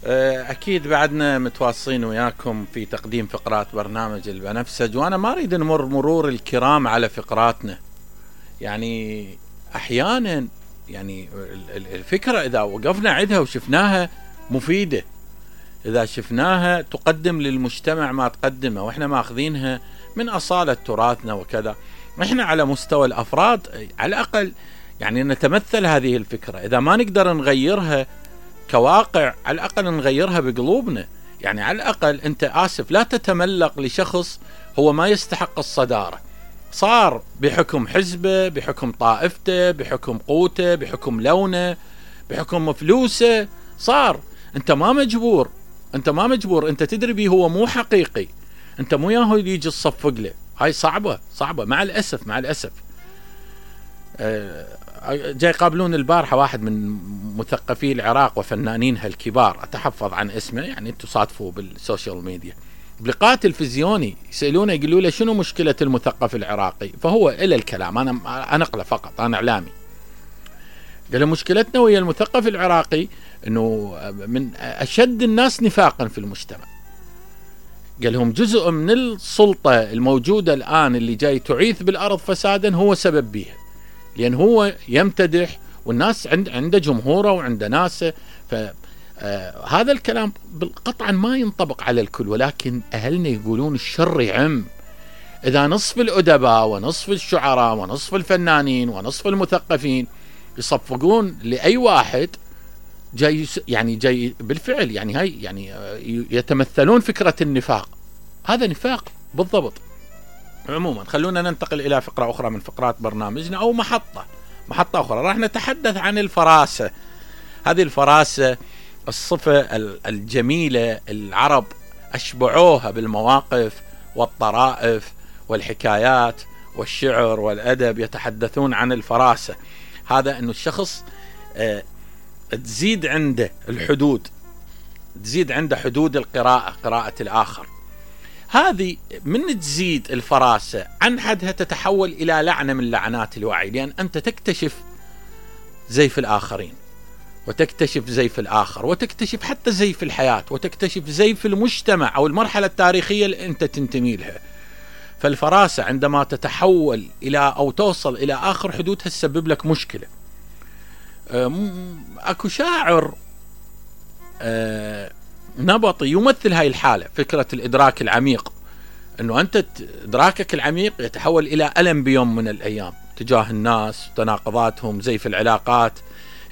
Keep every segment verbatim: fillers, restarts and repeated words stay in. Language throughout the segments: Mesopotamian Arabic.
أكيد بعدنا متواصلين وياكم في تقديم فقرات برنامج البنفسج، وأنا ما أريد نمر مرور الكرام على فقراتنا. يعني أحيانا يعني الفكرة إذا وقفنا عندها وشفناها مفيدة، إذا شفناها تقدم للمجتمع ما تقدمه، وإحنا ماخذينها من أصالة تراثنا وكذا، إحنا على مستوى الأفراد على الأقل يعني نتمثل هذه الفكرة. إذا ما نقدر نغيرها كواقع، على الأقل نغيرها بقلوبنا. يعني على الأقل أنت آسف لا تتملق لشخص هو ما يستحق الصدارة، صار بحكم حزبه، بحكم طائفته، بحكم قوته، بحكم لونه، بحكم فلوسه، صار. أنت ما مجبور، أنت ما مجبور، أنت تدري بيه هو مو حقيقي، أنت مو ياهو يجي تصفق له. هاي صعبة صعبة مع الأسف مع الأسف. أه جاي يقابلون البارحة واحد من مثقفي العراق وفنانينها الكبار، أتحفظ عن اسمه، يعني تصادفوا بالسوشيال ميديا، بلقاء تلفزيوني يسألونه يقولوا له شنو مشكلة المثقف العراقي، فهو إلى الكلام أنا أنقله فقط، أنا إعلامي، قال له مشكلتنا ويا المثقف العراقي أنه من أشد الناس نفاقا في المجتمع. قال لهم جزء من السلطة الموجودة الآن اللي جاي تعيث بالأرض فسادا هو سبب بيها، لأن هو يمتدح والناس عند عنده جمهوره وعنده ناسه. فهذا الكلام قطعا ما ينطبق على الكل، ولكن أهلنا يقولون الشر يعم. إذا نصف الأدباء ونصف الشعراء ونصف الفنانين ونصف المثقفين يصفقون لأي واحد جاي، يعني جاي بالفعل، يعني هاي يعني يتمثلون فكرة النفاق، هذا نفاق بالضبط. عموما خلونا ننتقل إلى فقرة أخرى من فقرات برنامجنا، أو محطة محطة أخرى. راح نتحدث عن الفراسة. هذه الفراسة الصفة الجميلة العرب أشبعوها بالمواقف والطرائف والحكايات والشعر والأدب، يتحدثون عن الفراسة. هذا أنه الشخص آه تزيد عنده الحدود، تزيد عنده حدود القراءة، قراءة الآخر. هذه من تزيد الفراسة عن حدها تتحول إلى لعنة من لعنات الوعي، لأن أنت تكتشف زيف الآخرين، وتكتشف زيف الآخر، وتكتشف حتى زيف الحياة، وتكتشف زيف المجتمع أو المرحلة التاريخية اللي أنت تنتمي لها. فالفراسة عندما تتحول إلى أو توصل إلى آخر حدودها تسبب لك مشكلة. أكو شاعر نبطي يمثل هاي الحالة، فكرة الإدراك العميق، أنه أنت إدراكك العميق يتحول إلى ألم بيوم من الأيام تجاه الناس وتناقضاتهم، زيف العلاقات،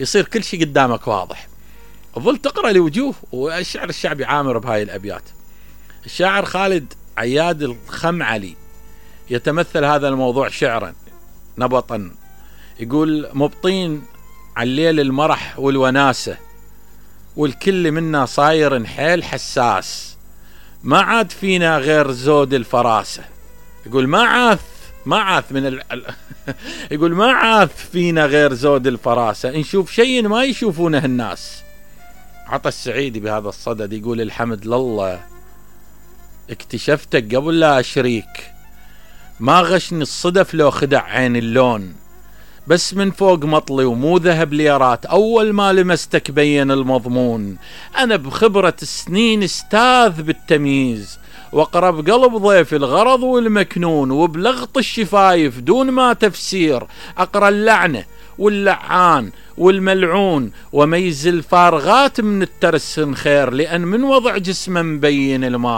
يصير كل شيء قدامك واضح، ظل تقرأ لوجوه. والشعر الشعبي عامر بهاي الأبيات. الشاعر خالد عياد الخمعلي يتمثل هذا الموضوع شعرا نبطا، يقول مبطين على الليل المرح والوناسة، والكل منا صاير حيل حساس، ما عاد فينا غير زود الفراسة. يقول ما عاث ما عاث من ال... يقول ما عاث فينا غير زود الفراسة، نشوف شيء ما يشوفونه الناس. عطى السعيدي بهذا الصدد يقول الحمد لله اكتشفتك قبل لا أشريك، ما غشني الصدف لو خدع عين اللون، بس من فوق مطلي ومو ذهب ليرات، أول ما لمستك بين المضمون. أنا بخبرة سنين استاذ بالتمييز، وأقرب قلب ضيف الغرض والمكنون، وبلغط الشفايف دون ما تفسير أقرأ اللعنة واللعان والملعون، وميز الفارغات من الترس خير، لأن من وضع جسمه مبين الماء.